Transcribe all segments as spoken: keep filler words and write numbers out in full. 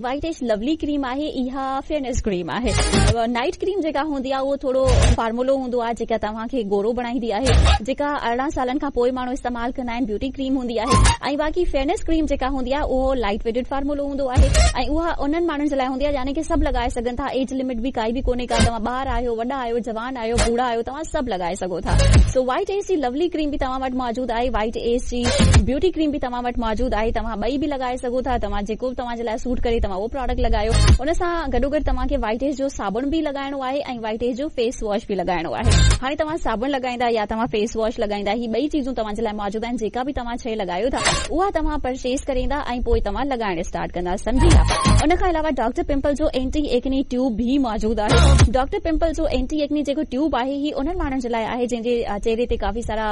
White age لولي ڪريم آهي، اها فيئرنيس ڪريم آهي. نائيٽ ڪريم جيڪا هوندي آهي اهو ٿورو فارمولو هوندو آهي جيڪا توهان کي گورو بڻائيندي آهي، جيڪا ارڙهن سالن کان پوء ماڻهو استعمال ڪندا آهن، بيوٽي ڪريم هوندي آهي. ۽ باقي فيئرنيس ڪريم جيڪا هوندي آهي اهو لائيٽ ويٽيڊ فارمولو هوندو آهي ۽ اها انهن ماڻهن جي لاء هوندي آهي، يعني ڪه سڀ لڳائي سگهن ٿا. ايج لمٽ به ڪائي به ڪونهي ڪا، توهان ٻار آهيو، وڏا آهيو، جوان آهيو، بوڙها آهيو، توهان سڀ لڳائي سگهو ٿا. سو وائيٽ ايج جي لولي ڪريم به توهان وٽ موجود آهي، وائيٽ ايج جي بيوٽي ڪريم به توهان وٽ موجود آهي. توهان ٻئي به لڳائي سگهو ٿا. توهان جيڪو به توهان جي لاء سوٽ ڪري توهان اهو پراڊڪٽ لڳايو. ان سان گڏوگڏ توهان کي وائيٽ ايج جو صابڻ به لڳائڻو آهي ۽ وائيٽ ايج جو فيس واش به لڳائڻو آهي. هاڻي توهان صابڻ لڳائيندا يا توهان فيس واش لڳائيندا، هي ٻئي چيزون توهان جي لاء موجود آهن. جيڪا به توهان شيء لڳايو ٿا اها توهان پرچيز ڪريندا ۽ پوء توهان لڳائڻ اسٽارٽ ڪندا، سمجهي ويا؟ ان کان علاوه ڊاڪٽر پمپل جو اينٽي ايڪني ٽيوب به موجود آهي. ڊاڪٽر پمپل جو اينٽي ايڪني جيڪو ٽيوب آهي، هي انهن ماڻهن جي لاء آهي جنهن جي چهري تي ڪافي سارا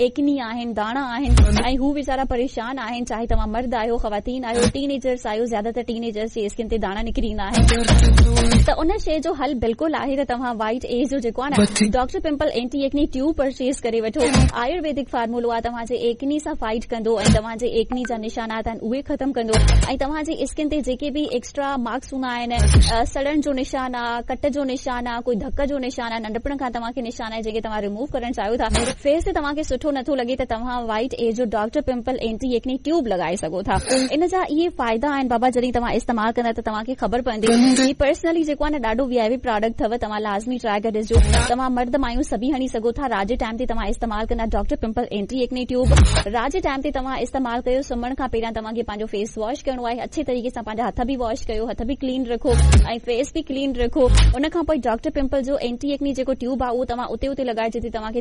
ايڪني آهن، داڻا آهن ۽ هو ويچارا پريشان آهن. چاهي توهان مرد آهيو، خواتين آهيو، ٽين ايجرس آهيو، زياده تر ٽين ايجرس جي اسڪن تي داڻا نڪري ايندا آهن، ته ان شيء جو حل بلڪل آهي ته توهان وائيٽ ايج جو جيڪو آهي نه doctor pimple anti acne tube purchase ڪري وٺو. آيورويدڪ فارمولو آهي، توهان جي ايڪني سان فائيٽ ڪندو ۽ توهان جي ايڪني جا نشانات آهن اهي ختم ڪندو ۽ توهان جي اسڪن تي جيڪي به ايڪسٽرا مارڪس هوندا آهن، سڙڻ جو نشان آهي، ڪٽ جو نشان آهي، ڪوئي ڌڪ جو نشان آهي، ننڍپڻ کان توهان کي نشان آهي جيڪي توهان ريموو ڪرڻ چاهيو ٿا، فيس تي توهان کي سٺو نٿو لڳي، ته توهان وائيٽ ايج جو doctor pimple anti acne tube لڳائي سگهو ٿا. ان جا اهي فائدا آهن بابا، جڏهن توهان استعمال ڪندا ته توهان کي خبر پوندي. هي پرسنلي جيڪو آهي نه ڏاڍو وي آء پي پراڊڪٽ اٿو، توهان لازمي ٽرائي ڪري ڏسجو. توهان مرد مايون سڀئي هڻي سگهو ٿا. رات جي ٽائيم تي توهان استعمال ڪندا doctor pimple anti acne tube, رات جي ٽائيم تي توهان استعمال ڪيو. سمهڻ کان پهريان توهان کي پنهنجو فيس واش ڪرڻو آهي اڇي طريقي سان. پنهنجا هٿ به واش ڪيو، هٿ به ڪلين رکو ۽ فيس به ڪلين رکو. ان کان پوءِ ڊاڪٽر پمپل جو اينٽي ايڪني جيڪو ٽيوب آهي اهو توهان اتي اتي لڳائي جتي توهان کي